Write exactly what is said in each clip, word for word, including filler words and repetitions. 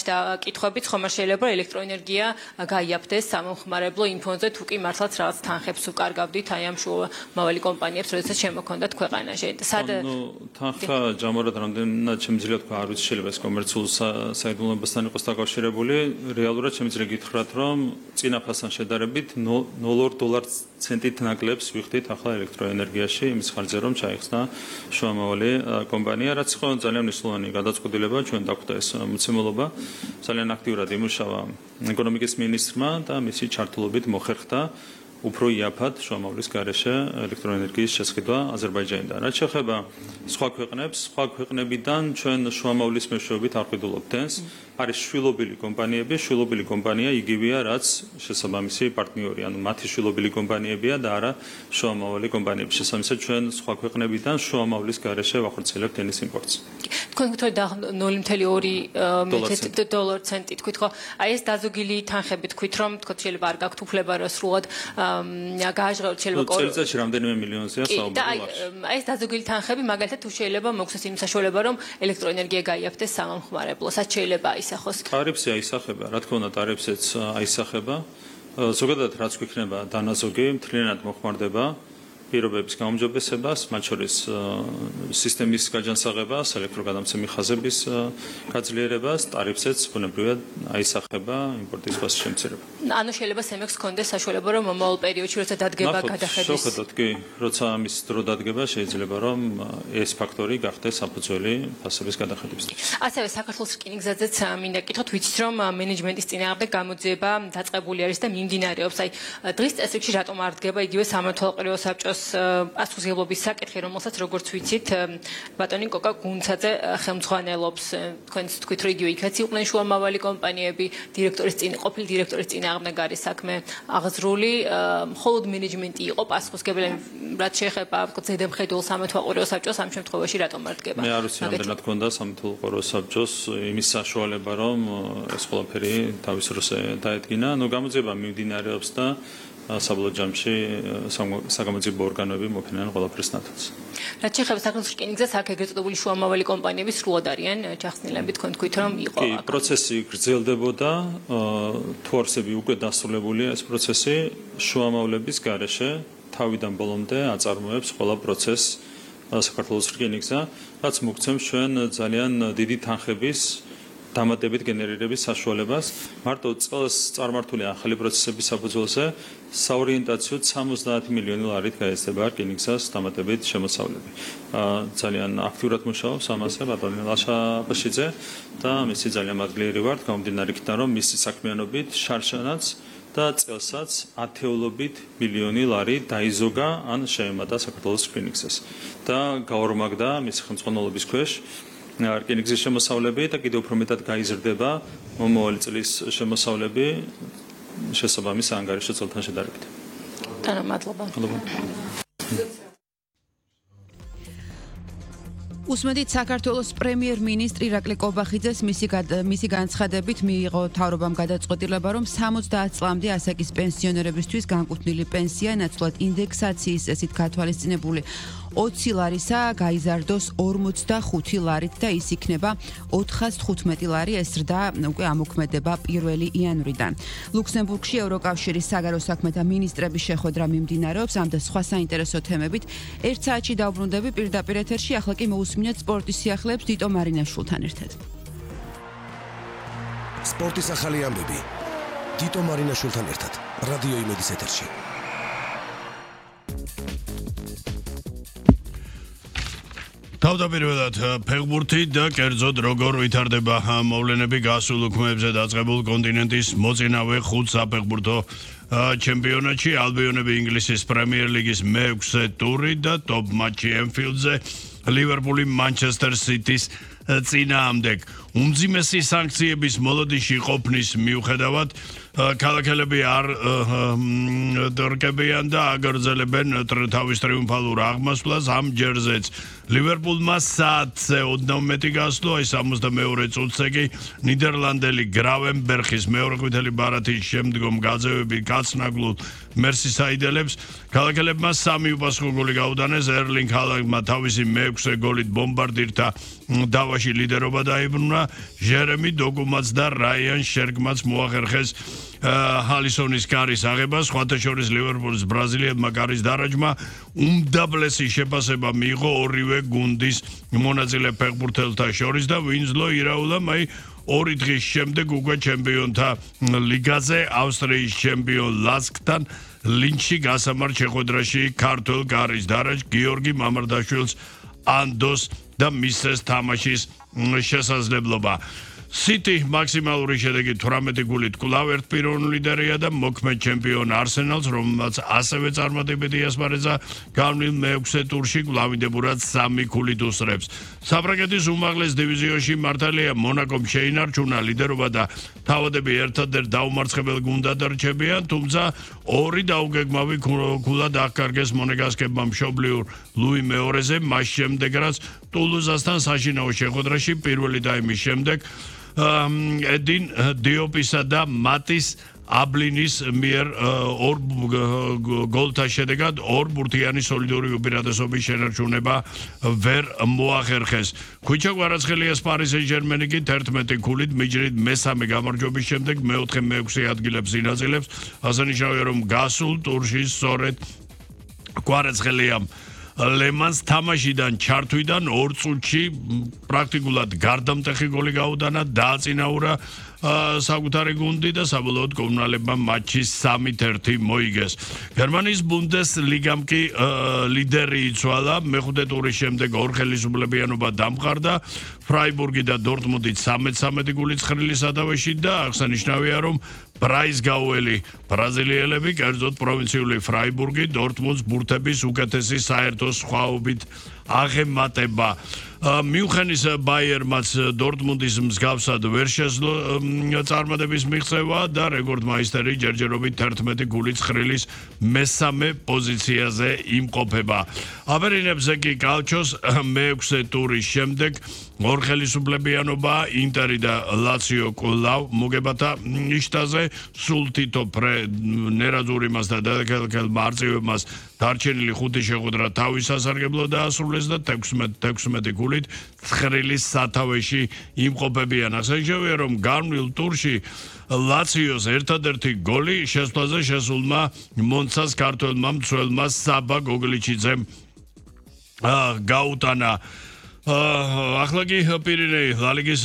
და კითხვებიც ხომ არ შეიძლება ელექტროენერგია გაიაფდეს სამომხმარებლო ინფონზე თუ კი მართლაც რაღაც თანხებს უკარგავდით აი ამ შუამავალი კომპანიებს, როდესაც შემოქონდათ ქვეყანაში. სად თანხა ჯამურად რამდენად შემიძლია თქვა, არ ვიცი, შეიძლება ეს კომერციულ საიდუმლოებასთან იყოს დაკავშირებული. რეალურად შემიძლია გითხრათ, რომ წინა ფასთან შედარებით ნულ ორ დოლარ ცენტით ნაკლებს ვიხდით ახლა ელექტროენერგიაში იმის ხარჯზე, რომ ჩაიხსნა შუამავალი კომპანია, რაც იყო ძალიან მნიშვნელოვანი გადაწყვეტილება, ჩვენ დაგვხვდა ეს მოცემულობა, ძალიან აქტიურად იმუშავა ეკონომიკის მინისტრმა და მისი ჩართულობით მოხერხდა უფრო იაფად შუამავლის გარეშე ელექტროენერგიის შესყიდვა აზერბაიჯანიდან. რაც შეეხება სხვა ქვეყნებს, სხვა ქვეყნებიდან ჩვენ შუამავლის მეშვეობით არ ვყიდულობთ დენს. არის შვილობილი კომპანიები, შვილობილი კომპანია იგივეა, რაც შესაბამისი პარტნიორი, ანუ მათი შვილობილი კომპანიებია და არა შუამავალი კომპანიები. შესაბამისად ჩვენ სხვა ქვეყნებიდან შუამავლის გარეშე ვახორციელებთ ენის იმპორტს. თქვენ გითხრათ ნული კომა ორი დოლარ ცენტი თქვით ხო? აი ეს დაზოგილი თანხები თქვით რომ თქო შეიძლება არ გაქვთ უფლება რა სრულად გააჟღეროთ შეიძლება წელიწადში რამდენიმე მილიონზეა საუბარი. აი ეს დაზოგილი თანხები მაგალითად თუ შეიძლება მოგცეს იმ საშუალება რომ ელექტროენერგია გაიაფდეს სამომხმარებლოს, რაც შეიძლება აისახოს. ტარიფსი აისახება, რა თქმა უნდა ტარიფსიც აისახება. ზოგადად რაც გვიქნება დანაზოგი მთლიანად მოხმარდება პირობების გაუმჯობესებას, მათ შორის სისტემის გაჯანსაღებას, ელექტროგადამცემი ხაზების გაძლიერებას, ტარიფსიც ბუნებრივად აისახება იმპორტის ფასის შემცირება. ანუ შეიძლება სემექს კონდეს საშუალება რომ მომავალ პერიოდში როცა დადგება გადახედვის. შევხედოთ კი, როცა ამის დრო დადგება შეიძლება რომ ეს ფაქტორი გახდეს საფუძველი ფასების გადახედვისთვის. ასევე საქართველოს რკინიგზაზეც მინდა გითხოთ, ვიცით რომ მენეჯმენტის წინააღმდეგ გამოძიება დაწყებული არის და მიმდინარეობს. აი დღის წესრიგში რატომ არ დგება იგივე სამმართველო საბჭოს პასუხისმგებლობის საკითხი, რომელსაც როგორც ვიცით, ბატონი კოკა გუნცაძე ხელმძღვანელობს. თქვენც თქვით რომ იგივე იქაც იყვნენ შუამავალი კომპანიები, დირექტორის წინ ყოფილი დირექტორის წინააღმდეგ არის საქმე აღზრული, მხოლოდ მენეჯმენტი იყო პასუხისმგებელი, რაც შეეხება ზედამხედველ სამმართველო საბჭოს ამ შემთხვევაში რატომ არ დგება? მე არ ვიცი რამდენად ქონდა სამმართველო საბჭოს იმის საშუალება, რომ ეს ყველაფერი თავის როზე დაედგინა. ნუ გამოძიება მიმდინარეობს და საბოლოო ჯამში საგამოძიებო ორგანოები მოფინანან ყველაფერს ნათელს. რაც შეეხება საქართველოს რკინიგზას, აქ ეგრეთ წოდებული შუამავალი კომპანიები სრულად არიან ჩახსნილები, თქვენ თქვით რომ იყო. კი, პროცესი გრძელდებოდა, თუ არსები უკვე დასრულებულია ეს პროცესი, შუამავლების გარეშე თავიდან ბოლომდე აწარმოებს ყველა პროცესს საქართველოს რკინიგზა, რაც მოგცემს ჩვენ ძალიან დიდი თანხების დამატებით გენერირების საშუალებას. მარტო წელს წარმართული ახალი პროცესების საფუძველზე საორიენტაციოდ სამოცდაათი მილიონი ლარით გაეცემა რკინიგზას დამატებით შემოსავლები. ძალიან აქტიურად მუშაობს ამაზე ბატონი ლაშა აბაშიძე და მისი ძალიან მადლიერი ვართ გამომდინარე იქიდან რომ მისი საქმიანობით შარშანაც და წელსაც ათეულობით მილიონი ლარი დაიზოგა ან შეემატა საქართველოს რკინიგზას და გაორმაგდა მისი ხელმძღვანელობის ქვეშ რკინიგზის შემოსავლები და კიდევ უფრო მეტად გაიზრდება მომავალი წლის შემოსავლები შესაბამის ანგარიშო წელთან შედარებით. თანა მადლობა. უსმედით საქართველოს პრემიერ-მინისტრი ირაკლი კობახიძეს მისი მისი განცხადებით მიიღო თავრობამ გადაწყვეტილება, რომ სამოცდაათ წლამდე ასაკის პენსიონერებისთვის განკუთვნილი პენსია ნაცვლად ინდექსაციის წესით გათვალისწინებული ოცი ლარისა გაიზარდოს ორმოცდახუთი ლარით და ის იქნება ოთხას თხუთმეტი ლარი, ეს ზრდა უკვე ამოქმედება პირველი იანვრიდან. ლუქსემბურგში ევროკავშირის საგარეო საქმეთა მინისტრების შეხვედრა მიმდინარეობს ამ და სხვა საინტერესო თემებით. ერთ საათში დავბრუნდები პირდაპირ ეთერში, ახლა კი მოусმინეთ სპორტის სიახლეებს დიტო მარინაშვილთან ერთად. სპორტის ახალი ამბები დიტო მარინაშვილთან ერთად რადიო იმედის ეთერში. თავდაპირველად ფეხბურთი და კერძოდ როგორ ვითარდება მოვლენები გასულ უქმეებზე დაწყებულ კონტინენტის მოწინავე ხუთ საფეხბურთო ჩემპიონატში ალბიონები ინგლისის პრემიერ ლიგის მეექვსე ტური და ტოპ მატჩი ენფილდზე ლივერპული მანჩესტერ სიტის წინააღმდეგ. უმძიმესი სანქციების მოლოდინში ყოფნის მიუხედავად ქალაქელები არ დორკებიან და აგრძელებენ თავის ტრიუმფალურ აღმასვლას ამ ჯერზეც. ლივერპულმა საათზე ოდნავ მეტი გასძლო, აი სამოცდამეორე წუთზე კი ნიდერლანდელი გრავენბერხის მეორეყვითელი ბარათის შემდგომ გაძევები კაცნაგლულ მერსისაიდელებს. ქალაქელებმა სამი უპასუხო გოლი გაუტანეს, ერლინგ ჰალანდმა თავისი მეექვსე გოლით ბომბარდირთა დავაში ლიდერობა დაიბრუნა ჟერემი დოგუმაც და რაიან შერგმაც მოახერხეს ჰალისონის კარის აღება, სხვათა შორის ლივერპულის ბრაზილიელმა კარის დარაჯმა უმდაბლესი შეფასება მიიღო ორივე გუნდის მონაწილე ფეხბურთელთა შორის და ვინსლო ირაულა მაი ორი დღის შემდეგ უკვე ჩემპიონთა ლიგაზე ავსტრიის ჩემპიონ ლასკთან ლინჩში გასამართ შეხვედრაში ქართულ კარის დარაჯ გიორგი მამარდაშვილს ანდოს და მისცეს თამაშის შესაძლებლობა. City მაქსიმალური შედეგი თვრამეტი გულით კვლავ ერთპიროვნული ლიდერია და მოქმედ ჩემპიონ არსენალს, რომელმაც ასევე წარმატებითი ასპარეზა გავლილ მეექვსე ტურში კვლავინდებურად სამი ქულით უსწრებს. საფრანგეთის უმაღლეს დივიზიონში მართალია მონაკომ შეინარჩუნა ლიდერობა და თავადები ერთადერთ დაუმარცხებელ გუნდად რჩებიან, თუმცა ორი დაუგეგმავი ქულად აღკარგეს მონეგასკებმა მშობლიურ ლუი მეორეზე, მას შემდეგ რაც ტულუზასთან საშინაო შეხვედრაში პირველი ტაიმის შემდეგ ე딘 დიოპისა და მატის აბლინის მიერ ორ გოლთა შედეგად ორ ბურთიანი სოლიდური უპირატესობის შენარჩუნება ვერ მოახერხეს. ქუჩა კვარაცხელიას პარი სენ-ჟერმენი კი თერთმეტი ქულით მიჯრით მესამე გამარჯვების შემდეგ მეოთხე მეექვსე ადგილებს ინაწილებს. აღსანიშნავია, რომ გასულ ტურში სწორედ კვარაცხელიამ ლემანს თამაშიდან ჩართვიდან ორ წუთში პრაქტიკულად გარდამტეხი გოლი გაუტანა, დააწინაურა საკუთარი გუნდი და საბოლოოდ კომუნალებმა მატჩი სამით ერთი მოიგეს. გერმანიის ბუნდესლიგამ კი ლიდერი იცვალა, მეხუთე ტურის შემდეგ ორ ხელისუფლებიანობა დამყარდა, ფრაიბურგი და დორტმუნდი სამი სამი გულით ცხრილი სათავეში და აღსანიშნავია, რომ ბრაისგაუელი ბრაზილიელები, კერძოდ პროვინციული ფრაიბურგი დორტმუნდს ბურთების უკეთესი საერთო სხვაობით აღემატება. მიუნხენის ბაიერმაც დორტმუნდის მსგავსად ვერ შეძლო წარმატების მიღწევა და რეკორდმაისტერი ჯერჯერობით თერთმეტი გულით ცხრილის მესამე პოზიციაზე იმყოფება. აბერინებზე კი კალჩოს მეექვსე ტურის შემდეგ ორ ხელისუფლებიანობა ინტერი და ლაციო კვლავ მოგებათა ნიშტაზე, სულ თითო ნერაძურიმას და დედაქალაქელმა არწივებმას დარჩენილი ხუთი შეხვედრა თავის სასარგებლოდ დაასრულეს და თექვსმეტი გულით ცხრილის სათავეში იმყოფებიან. აღსანიშნავია, რომ გამრავლ ტურში ლაციოს ერთადერთი გოლი შესვლაზე შესულმა მონცას ქართველმა მცველმა საბა გოგლიჩიძემ გაუტანა. ახლა კი პირინეი ლალიგის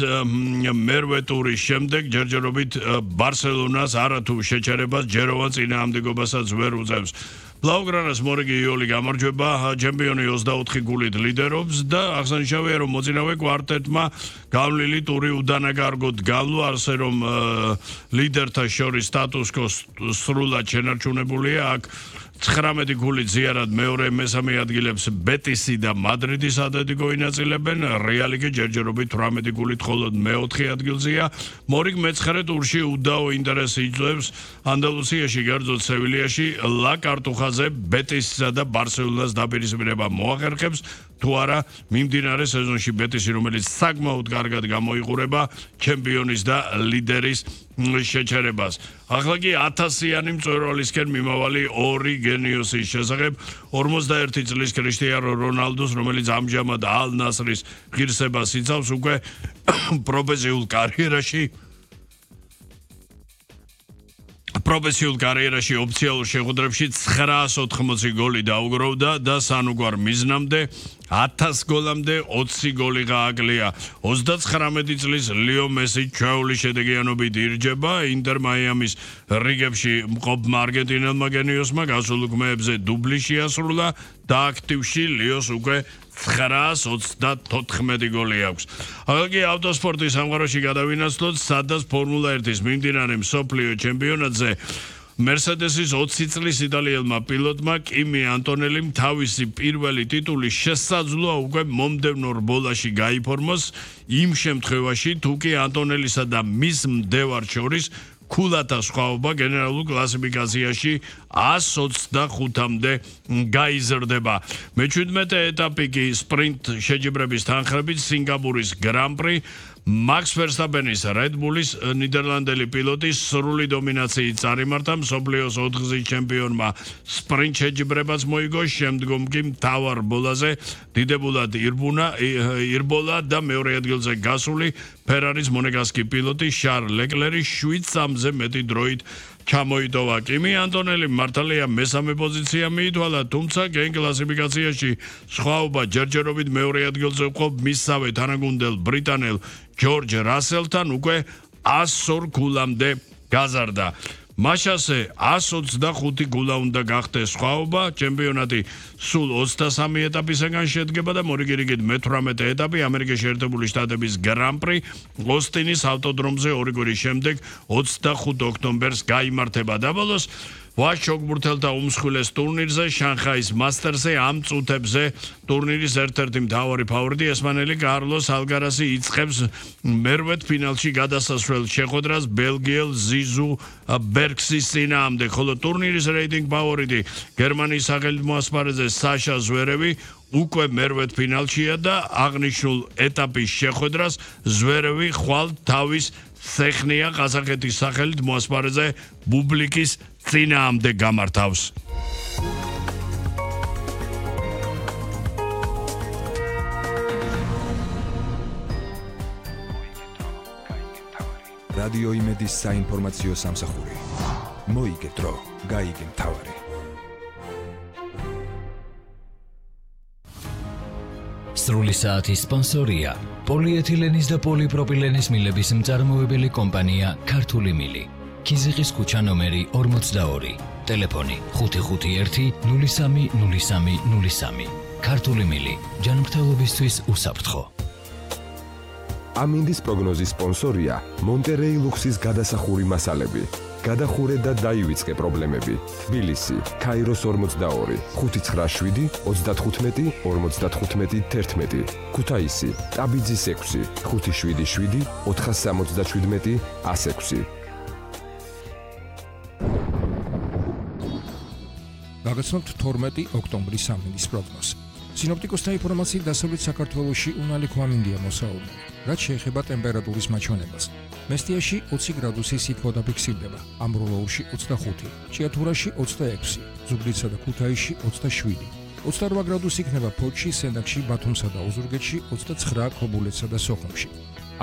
მერვე ტურის შემდეგ ჯერჯერობით ბარსელონას არათუ შეჩერებას ჯეროვან წინააღმდეგობასაც ვერ უწევს. ბლაუგრანას მორიგი იოლი გამარჯვება, ჩემპიონი ოცდაოთხი გულით ლიდერობს და აღსანიშნავია, რომ მოწინავე კვარტეტმა გავლილი ტური უდანაკარგოდ გავლო, ასე რომ ლიდერთა შორის სტატუს-კვო სრულად შენარჩუნებულია. აქ ცხრამეტი გულით ზიარად მეორე მესამე ადგილებს ბეტისი და მადრიდის ატლეტიკო ინაწილებენ, რეალი კი ჯერჯერობით თვრამეტი გულით მხოლოდ მეოთხე ადგილზეა. მორიგ მეცხრე ტურში უდაო ინტერესი იძლევს ანდალუსიაში, კერძოდ სევილიაში, ლა კარტუხაზე ბეტისსა და ბარსელონას დაპირისპირება მოახერხებს, თუ არა მიმდინარე სეზონში ბეტისი, რომელიც საკმაოდ კარგად გამოიყურება ჩემპიონის და ლიდერის შეჩერებას. ახლა კი ათასიანი მწვერვალისკენ მიმავალი ორი გენიოსის შესახებ, ორმოცდაერთი წლის კრისტიანო რონალდოს, რომელიც ამჟამად ალ ნასრის ღირსებას იცავს, უკვე პროფესიულ კარიერაში პროფესიულ კარიერაში ოფიციალურ შეხვედრებში ცხრაას ოთხმოცი გოლი დაუგროვდა და სანუგვარ მიზნამდე ათას გოლამდე ოცი გოლი გააკლია. ოცდაცხრამეტი წლის ლიო მესი ჩვეული შედეგიანობით ირჯება ინტერ მაიამის რიგებში მყოფმა არგენტინელმა გენიოსმა გასულ უქმეებზე დუბლი შეასრულა და აქტივში ლიოს უკვე ცხრაას ოცდათოთხმეტი გოლი აქვს. ახლა კი ავტოსპორტის სამყაროში გადავინაცვლოთ, სადაც ფორმულა ერთის მიმდინარე მსოფლიო ჩემპიონატზე Mercedes-ის ოცი წლის იტალიელმა პილოტმა კიმი ანტონელიმ თავისი პირველი ტიტული შესაძლოა უკვე მომდევნო რბოლაში გაიფორმოს, იმ შემთხვევაში თუ კი ანტონელისა და მის მდევარ შორის ქულათა სხვაობა გენერალურ კლასიფიკაციაში ას ოცდახუთამდე გაიზრდება. მეჩვიდმეტე ეტაპი კი სპრინტ შეჯიბრების თანხლებით სინგაპურის გრან-პრი Max Verstappenis Red Bullis ნიდერლანდელი პილოტის სრული დომინაციით წარიმართა მსოფლიოს ოთხგზის ჩემპიონმა სპრინტ შეჯიბრებას მოიგო, შემდგომ კი მთავარ ბოლაზე დიდებულად ირბუნა ირბოლა და მეორე ადგილზე გასული ფერარის მონეგასკი პილოტი შარლ ლეკლერი შვიდ სამზე მეტი დროით ჩამოიტოვა. კიმი ანტონელი მართალია მესამე პოზიცია მიითვალა, თუმცა გენ კლასიფიკაციაში სხვაობა ჯერჯერობით მეორე ადგილზე ვყოფ მისსავე თანაგუნდელ ბრიტანელ ჯორჯ რასელთან უკვე ასორ გულამდე გაზარდა. მაშასე εκατს ოცდახუთი გულა უნდა გახდეს სხვაობა, ჩემპიონატი სულ ოცდასამი ეტაპისაგან შედგება და მორიგირიგით მეთვრამეტე ეტაპი ამერიკის შეერთებული შტატების გრან-პრი ოსტინის ავტოდრომზე ორი კვირის შემდეგ ოცდახუთ ოქტომბერს გაიმართება და ბოლოს ვაშოგბურთელთა უმსხვილეს ტურნირზე შანხაის მასტერსზე ამ წუთებზე ტურნირის ერთ-ერთი მთავარი ფავორიტი ესპანელი კარლოს ალგარასი იწყებს მერვეთ ფინალში გადასასვლელ შეხვედრას ბელგიელ ზიზუ ბერგსის წინააღმდეგ, ხოლო ტურნირის რეიტინგ ფავორიტი გერმანიის სახელმწიფო ასპარეზზე საშა ზვერევი უკვე მერვეთ ფინალშია და აღნიშნულ ეტაპის შეხვედრას ზვერევი ხვალ თავის სეხნია ყაზახეთის სახელით მოასპარეზე ბუბლიკის წინააღმდეგ გამართავს. რადიო იმედის საინფორმაციო სამსახური. მოიგე დრო, გაიგე მთავარი. სრული საათის სპონსორია პოლიეთილენის და პოლიპროპილენის მილების მწარმოებელი კომპანია ქართული მილი. ქიზიყის ქუჩა ნომერი ორმოცდაორი. ტელეფონი ხუთი ხუთი ერთი ნული სამი ნული სამი ნული სამი. ქართული მილი. ჯანმრთელობისთვის უსაფრთხო. ამინდის პროგნოზის სპონსორია მონტერეი ლუქსის გადასახური მასალები. გადახურე და დაივიწყე პრობლემები. თბილისი, ქაიროს ორმოცდაორი, ხუთი ცხრა შვიდი ოცდათხუთმეტი ორმოცდათხუთმეტი თერთმეტი. ქუთაისი, ტაბიძის ექვსი, ხუთი შვიდი შვიდი ოთხასამოცდაშვიდმეტი ას ექვსი. გაგაცნობთ თორმეტი ოქტომბრის ამინდის პროგნოზი. სინოპტიკოსთა ინფორმაციით დასავლეთ საქართველოში უნალი ქვამინდია მოსაუბნელი. რაც შეეხება ტემპერატურის მაჩვენებას. მესტიაში ოცი გრადუსი სითბო დაფიქსირდება, ამბროლოურში ოცდახუთი, ჭიათურაში ოცდაექვსი, ზუგდიდსა და ქუთაისში ოცდაშვიდი. ოცდარვა გრადუსი იქნება ფოთში, სენაკში, ბათუმსა და ოზურგეთში, ოცდაცხრა ქობულეთსა და სოხუმში.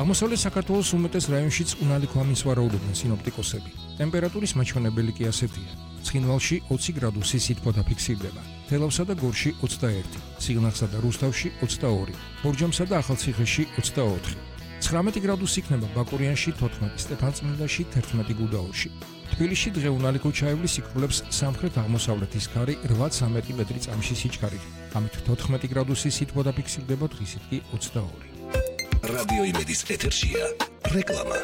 აღმოსავლეთ საქართველოს უმეტეს რაიონშიც უნალი ქვამინს ვარაუდობენ სინოპტიკოსები. ტემპერატურის მაჩვენებელი კი ასეთია. ცხინვალში ოცი გრადუსი სითბო დაფიქსირდება, თელავსა და გორში ოცდაერთი, სიღნაღსა და რუსთავში ოცდაორი, ბორჯომსა და ახალციხეში ოცდაოთხი. ცხრამეტი გრადუსი იქნება ბაკურიანში თოთხმეტი, სტეფანწმინდაში თერთმეტი გუდაურში. თბილისში დღე უნალი ქუჩაევლის იქრულებს სამხრეთ აღმოსავლეთის ქარი რვაცამეტი მეტრი წამში სიჩქარით. ამით თოთხმეტი გრადუსი სითბო დაფიქსირდება, დღისით კი ოცდაორი. რადიო იმედის ეთერშია რეკლამა.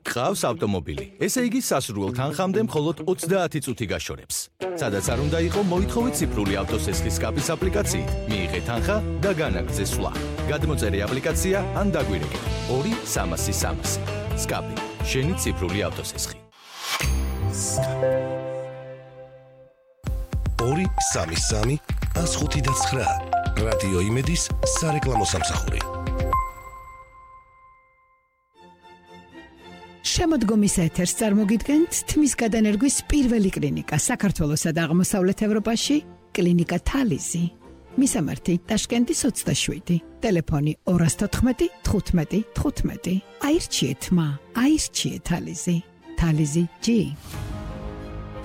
ყავს ავტომობილი. ესე იგი სასურველ თანხამდე მხოლოდ ოცდაათი წუთი გაშორებს. სადაც არ უნდა იყო, მოითხოვეთ ციფრული ავტოსესხლის სკაპის აპლიკაციით. მიიღეთ თანხა და განაგრძე სვლა. გადმოწერე აპლიკაცია ან დაგვირეკე. ორი სამასი სამასი. სკაპი. შენი ციფრული ავტოსესხი. ორი სამი სამი ას ხუთი და ცხრა. რადიო იმედის სარეკლამო სამსახური. შემოდგომის ეთერს წარმოგიდგენთ თმის გადანერგვის პირველი კლინიკა საქართველოსა და აღმოსავლეთ ევროპაში, კლინიკა თალიზი. მისამართი ტაშკენტის ოცდაშვიდი, ტელეფონი ორას თოთხმეტი თხუთმეტი თხუთმეტი. აირჩიეთ მა, აირჩიეთ თალიზი. თალიზი ჯი.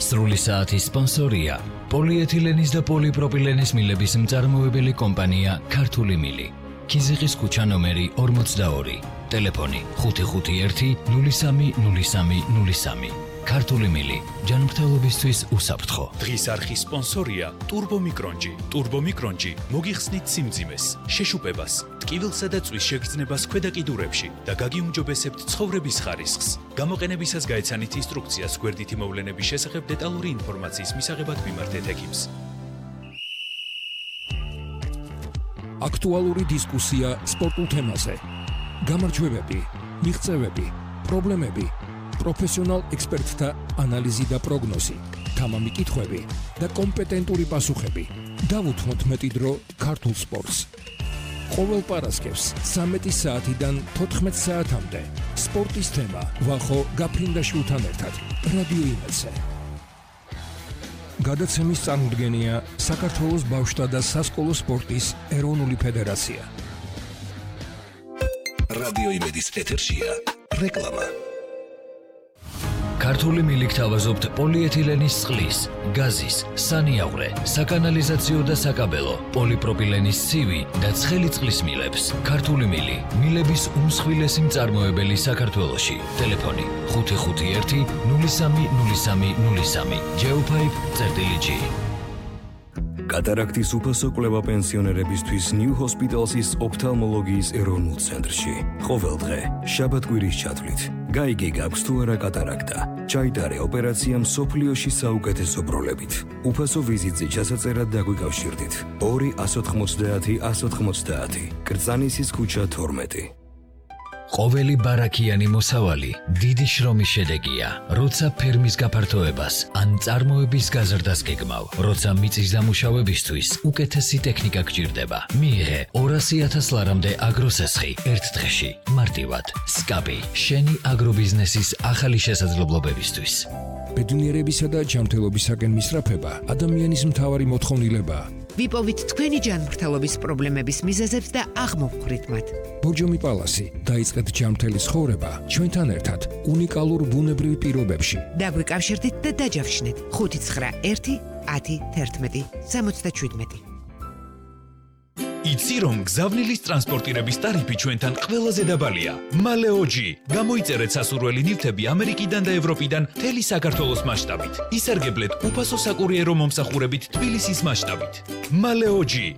სრული საათის სპონსორია პოლიეთილენის და პოლიპროპილენის მილების მწარმოებელი კომპანია ქართული მილი. ქიზიყის ქუჩა ნომერი ორმოცდაორი. ტელეფონი ხუთი ხუთი ერთი ნული სამი ნული სამი ნული სამი. ქართული მილი. ჯანმრთელობისთვის უსაფრთხო. დღის არხის სპონსორია ტურბომიკრონჯი. ტურბომიკრონჯი მოგიხსნით სიმძიმეს, შეშუპებას, ტკივილსა და წვის შეგრძნებას ქვედა კიდურებში და გაგიუმჯობესებთ ცხოვრების ხარისხს. გამოყენებისას გაეცანით ინსტრუქციას გვერდითი მოვლენების შესახებ დეტალური ინფორმაციის მისაღებად მიმართეთ ექიმს. აქტუალური დისკუსია სპორტულ თემაზე. გამარჯვებები, მიღწევები, პრობლემები, პროფესიონალ ექსპერტთა ანალიზი და პროგნოზი, თამამი კითხვები და კომპეტენტური პასუხები. დავუთმოთ მეტი დრო ქართულ სპორტს. ყოველ პარასკევს ცამეტი საათიდან თოთხმეტ საათამდე სპორტის თემა ვახო გაფრინდაშვილთან ერთად რადიო იმედზე. გადაცემის წარმოდგენია საქართველოს ბავშვთა და სასკოლო სპორტის ეროვნული ფედერაცია. რადიო იმედის ეთერშია რეკლამა. ქართული მილი გთავაზობთ პოლიეთილენის წყლის, გაზის, სანიაღვრე, საკანალიზაციო და საკაბელო, პოლიპროპილენის ცივი და ცხელი წყლის მილებს. ქართული მილი, მილების უმსხვილესი მწარმოებელი საქართველოში. ტელეფონი ხუთი ხუთი ერთი ნული სამი ნული სამი ნული სამი. Geopipe წერტილი. კატარაქტის უფასო კვლევა პენსიონერებისთვის New Hospital's ოფთალმოლოგიის ეროვნულ ცენტრში. ყოველდღე, შაბათ-კვირის ჩათვლით. გაიგე გაქვს თუ არა კატარაქტა. ჩაიტარე ოპერაცია მსოფლიოში საუკეთესო პროლებით. უფასო ვიზიტზე ჩასაწერად დაგვიკავშირდით. ორი ათას ოცდაათი ათას ოცდაათი. კრწანისის ქუჩა თორმეტი. ყოველი ბარაქიანი მოსავალი დიდი შრომის შედეგია, როცა ფერმის გაფართოებას ან წარმოების გაზრდას გეგმავ, როცა მიწის დამუშავებისთვის უკეთესი ტექნიკა გჭირდება. მიიღე ორასი ათას ლარამდე აგროსესხი ერთ დღეში, მარტივად. სკაპი, შენი აგრობიზნესის ახალი შესაძლებლობებისთვის. ბედნიერებისა და ჯანმრთელობისაკენ მისწრაფება ადამიანის მთავარი მოთხოვნილებაა. ვიპოვით თქვენი ჯანმრთელობის პრობლემების მიზეზებს და აღმოვხვრით მათ. ბორჯომი პალასი, დაიწყეთ ჯანმრთელი ცხოვრება ჩვენთან ერთად უნიკალურ ბუნებრივ პირობებში. დაგვიკავშირდით და დაჯავშნეთ ხუთი ცხრა ერთი ათი თერთმეტი სამოცდაშვიდმეტი. იცი რომ გზავნილის ტრანსპორტირების ტარიფი ჩვენთან ყველაზე დაბალია. მალეოჯი. გამოიწერეთ სასურველი ნივთები ამერიკიდან და ევროპიდან მთელი საქართველოს მასშტაბით. ისარგებლეთ უფასო საკურიერო მომსახურებით თბილისის მასშტაბით. მალეოჯი.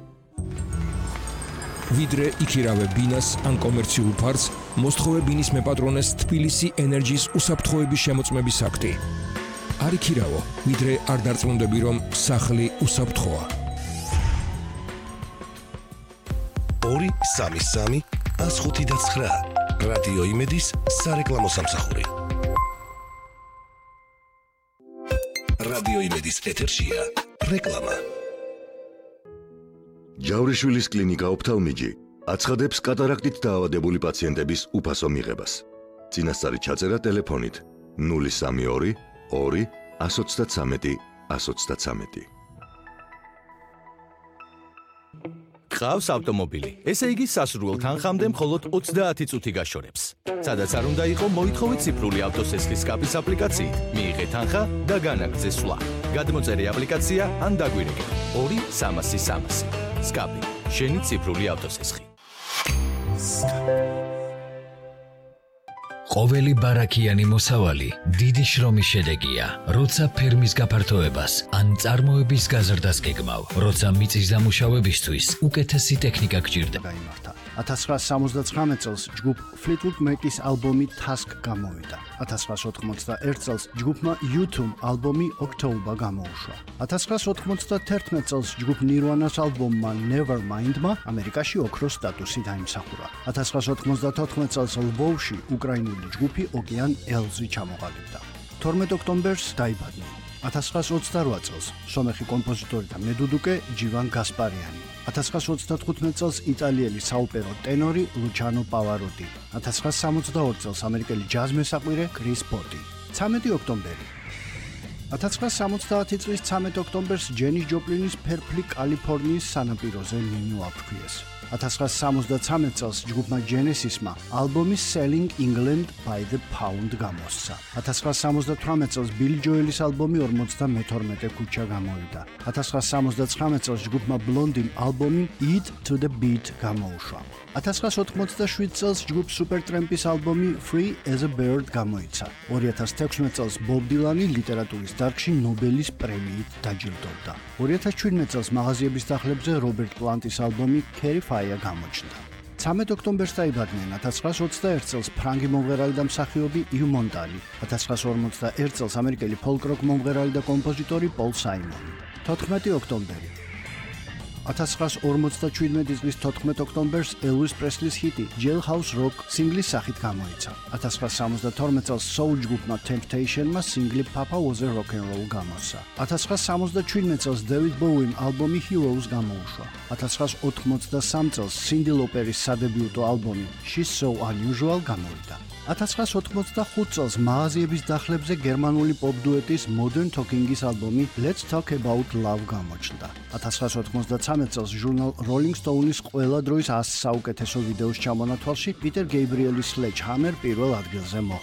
ვიდრე იქირავე ბინას ან კომერციულ ფარს, მოსთხოვე ბინის მეპატრონეს თბილისი ენერჯის უსაფრთხოების შემოწმების აქტი. არ იქირავო, ვიდრე არ დარწმუნდები რომ სახლი უსაფრთხოა. ორი სამი სამი ათას ხუთი და ცხრა. რადიო იმედის სარეკლამო სამსახური. რადიო იმედის ეთერშია რეკლამა. ჯავრიშვილის კლინიკა ოფთალმიჯი აცხადებს კატარაქტით დაავადებული პაციენტების უფასო მიღებას. წინასწარი ჩაწერა ტელეფონით ნული სამი ორი ორი ათას ოცდათრამეტი ათას ოცდათრამეტი. გყავს ავტომობილი, ესე იგი სასურველ თანხამდე მხოლოდ ოცდაათი წუთი გაშორებს. სადაც არ უნდა იყო, მოითხოვეთ ციფრული ავტოსესხლის სკაპის აპლიკაციით, მიიღეთ თანხა და განაგრძე სვლა. გადმოწერე აპლიკაცია ან დაგვირეკე ორი სამასი სამასი. სკაპი, შენი ციფრული ავტოსესხი. ყოველი ბარაქიანი მოსავალი დიდი შრომის შედეგია, როცა ფერმის გაფართოებას ან წარმოების გაზრდას გეგმავ, როცა მიწის დამუშავებისთვის უკეთესი ტექნიკა გჭირდება. ათას ცხრაასი სამოცდათხრამეტ წელს ჯგუფ Fleetwood Mac-ის ალბომი Task გამოვიდა. ათას ცხრაასი ოთხმოცდაერთ წელს ჯგუფმა U two ალბომი October გამოუშვა. ათას ცხრაასი ოთხმოცდათერთმეტ წელს ჯგუფ Nirvana-ს ალბომმა Nevermind-მა ამერიკაში ოქროს სტატუსი დაიმსახურა. ათას ცხრაასი ოთხმოცდათოთხმეტ წელს ლვოვში უკრაინული ჯგუფი Okean Elves-ი ჩამოყალიბდა. თორმეტ ოქტომბერს დაიბადნენ. ათას ცხრაასი ოცდარვა წელს სომეხი კომპოზიტორი და მედუდუკე ჯივან გასპარიანი. ათას ცხრაასი ოცდათხუთმეტ წელს იტალიელი საოპერო ტენორი ლუჩანო პავაროტი. ათას ცხრაასი სამოცდაორი წელს ამერიკელი ჯაზ მესაყვირე კრის ბოტი. ცამეტი ოქტომბერი. ათას ცხრაასი სამოცდაათი წლის ცამეტ ოქტომბერს ჯენის ჯოპლინის ფერფლი კალიფორნიის სანაპიროზე მინუ აფრქვიეს. ათას ცხრაასი სამოცდათრამეტ წელს ჯგუფმა Genesis-მა ალბომი Selling England by the Pound გამოსცა. ათას ცხრაასი სამოცდათვრამეტ წელს Billy Joel-ის ალბომი ორმოცდამეთორმეტე ქუჩა გამოვიდა. ათას ცხრაასი სამოცდაცხრამეტ წელს ჯგუფმა Blondie-მ ალბომი Eat to the Beat გამოუშვა. ათას ცხრაასი ოთხმოცდაშვიდ წელს ჯგუფ Supertramp-ის ალბომი Free as a Bird გამოიცა. ორი ათას თექვსმეტ წელს Bob Dylan-ი ლიტერატურის დარგში ნობელის პრემიით დაჯილდოვდა. ორი ათას შვიდმეტ წელს მაღაზიების დახლებზე Robert Plant-ის ალბომი Carry Fire გამოჩნდა. ცამეტ ოქტომბერს დაიბადნენ ათას ცხრაასი ოცდაერთ წელს ფრანგი მომღერალი და მსახიობი იუ მონტალი. ათას ცხრაასი ორმოცდაერთ წელს ამერიკელი folk-rock მომღერალი და კომპოზიტორი პოლ საიმონი. თოთხმეტი ოქტომბერი. ათას ცხრაასი ორმოცდაშვიდმეტი წლის თოთხმეტ ოქტომბერს Elvis Presley-ის ჰიტი Jailhouse Rock სინგლის სახით გამოიცა. ათას ცხრაასი სამოცდათორმეტ წელს soul ჯგუფმა Temptation-მა სინგლი Papa Was a Rock and Roll გამოსცა. ათას ცხრაასი სამოცდაშვიდმეტ წელს David Bowie-მ ალბომი Heroes გამოუშვა. ათას ცხრაასი ოთხმოცდასამი წელს Cyndi Lauper-ის სადებიუტო ალბომი She's So Unusual გამოვიდა. ათას ცხრაას ოთხმოცდახუთ წელს მაღაზიების დახლებზე გერმანული პოპ დუეტის Modern Talking-ის ალბომი Let's Talk About Love გამოჩნდა. ათას ცხრაას ოთხმოცდაცამეტ წელს ჟურნალ Rolling Stone-ის ყველა დროის ას საუკეთესო ვიდეოს ჩამონათვალში პიტერ გეიბრიელის Sledgehammer პირველ ადგილზე მოხვდა.